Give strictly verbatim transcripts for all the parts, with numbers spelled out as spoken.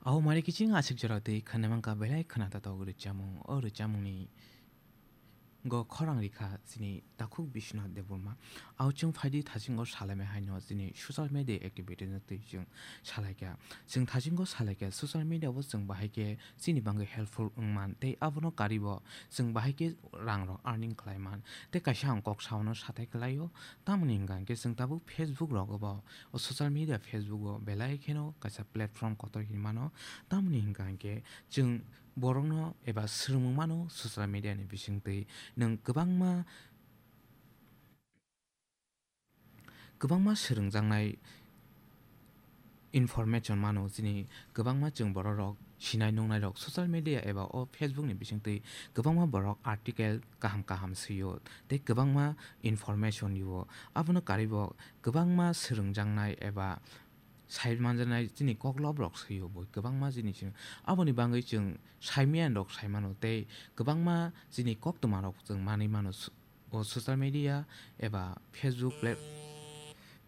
Aho mari kiching aswk jora twi khwnamangkha belai khwnathok rwchapmung. O rwchapmungni go khorang rikha chini takhuk Biswanath Debbarma. Aho chwng phaidi thasingo salaimai haino chini social media activity no twi chwng salaikha. Chwng thasingo salaikha social media o chwng bahai khe chini bagwi helpful wngman tei abono karibo chwng bahai khe rang rok earning khlaiman. Tei kaisa ang kok saono sathai kwlaio. Tamoni hwnkha hwnkhe chwng tabuk Facebook rogo bo, o social media Facebook o belai kheno kaisa platform kotor hinwi mano. Tamoni hwnkha hwnkhe chwng borokno eba swrwngmung mano social media ni bisingtwi. Nwng kwbangma, kwbangma swrwngjaknai information mano, chini kwbangma chwng borok rok sinai nungnai rok social media eba o Facebook ni bisingtwi kwbangma borok article kaham kaham swio tei kwbangma information rwo. Abono karibo kwbangma swrwngjaknai eba sai manjaknai chini koklop rok swio bo kwbangma chini simi. Aboni bagwi chwng saimaya rok sai mano tei kwbangma chini koktwma rok chwng manwi mano. O social media eba Facebook plat-,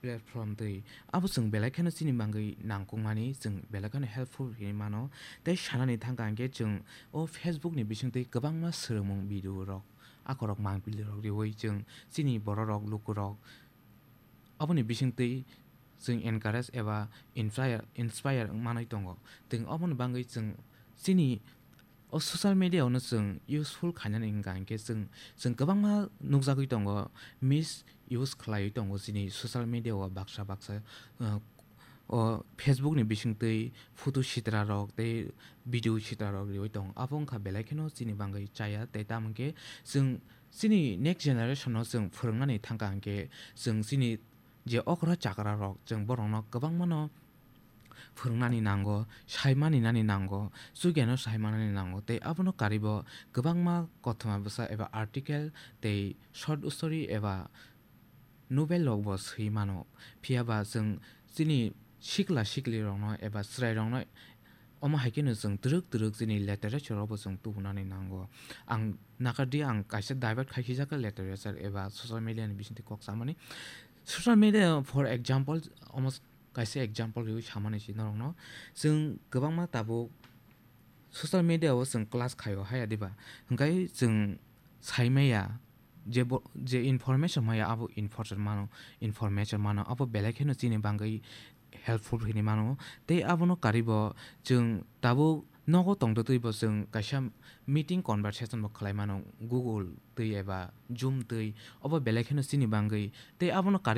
platform twi abo chwng belai kheno chini bagwi nangkukmani, chwng belai kheno helpful hinwi mano. Tei sanani thangkha hwnkhe chwng o Facebook ni bisingtwi kwbangma swrwngmung video rok, akorok mangpili rok riwi chwng chini borok rok, luku rok aboni bisingtwi chwng encourage eba inspire, inspire wng manwi tongo. Tei aboni bagwi chwng chini o social media-o no chwng useful khainani hwnka hinkhe chwng, chwng kwbangma nukjagwi tongo, misuse khlaiwi tongo chini social media-o baksa baksa, uh, o Facebook ni bisingtwi photo sitra rok tei video sitra rok riwi tongo. Abo wngkha belai kheno chini bagwi chaya tei tamo hinkhe chwng chini next generation-o chwng phwrwngnani thangkha hinkhe chwng chini je okra chakra rok chwng borokno kwbangmano phwrwngnani nango, saimani nani nango, chugiano saimanani nango, tei abono karibo kwbangma kothoma bwsa eba article tei short story eba novel rokbo swi mano. Phiya ba chwng chini sikla sikli rokno eba chwrai rokno omo hai kheno chwng twrwk twrwk chini literature rokbo chwng tubunani nango. Ang nakardi ang kaisa divert khai sijak literature eba social media ni bisingtwi kok samani. Social media, for example, omo kaisa example riwi samani si norokno. Chwng kwbangma tabuk social media o chwng class khaio haya diba? Hwnkhe chwng saimaya je bo-, je information maya abo information mano, information mano abo belai kheno chini bagwi helpful hinwi mano. Tei abono karibo chwng tabuk nogo tongtwtwi bo chwng kaisa meeting conversation bo khlai mano Google twi eba Zoom twi, obo belai kheno chini bagwi. Tei abono kari